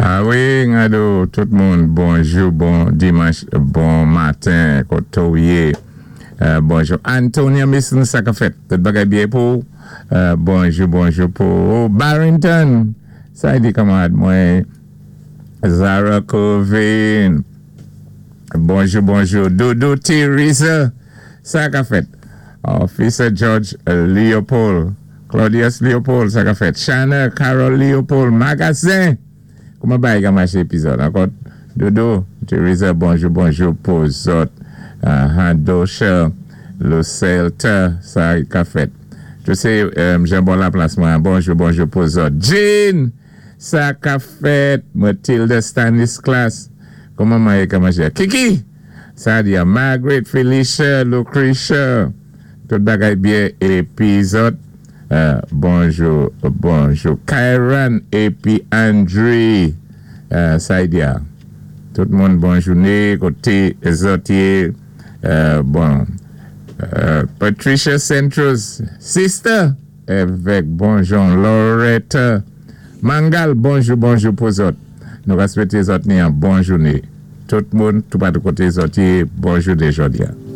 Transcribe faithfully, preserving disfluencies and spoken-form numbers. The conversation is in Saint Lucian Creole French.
A wi, Ngado, tout moun, bonjou, bon dimanch, bon maten, koto yé. Euh, bonjou. Antonia Mason, sa ka fèt. Tout bagay byen pou. Euh, bonjou, bonjou pou Barrington. Sa di kanmarad mwen. Zara Covin. Bonjou, bonjou. Dodo Teresa. Sa ka fèt. Officer George Leopold. Claudius Leopold, sa ka fèt. Shanna Carol Leopold. Magasin. Kouman bagay ka maché epizòd? Ankò, Dodo, Teresa, bonjou, bonjou pou zòt. Uh, Dosha, Lucelta, sa ka fèt. Je sé, euh, jan bon la plas mwen. Bonjou, bonjou pou zòt. Jean, sa ka fèt. Matilda Stanislas. Kouman mwen ka maché? Kiki, sa di Margaret, Felicia, Lucretia. Tout bagay byen épi zòt. Euh, bonjou, bonjou. Kyran épi Andre. Euh, sa di Tout moun bon jouné. Koté zòt yé. Euh, bon. Euh, Patricia Centros, sister. Avèk bonjou Loretta. Mangal, bonjou, bonjou pou zòt. Nou va swété zòt ni yon bon jouné. Tout moun, tout patou koté zòt yé, bon jouné jòdi a.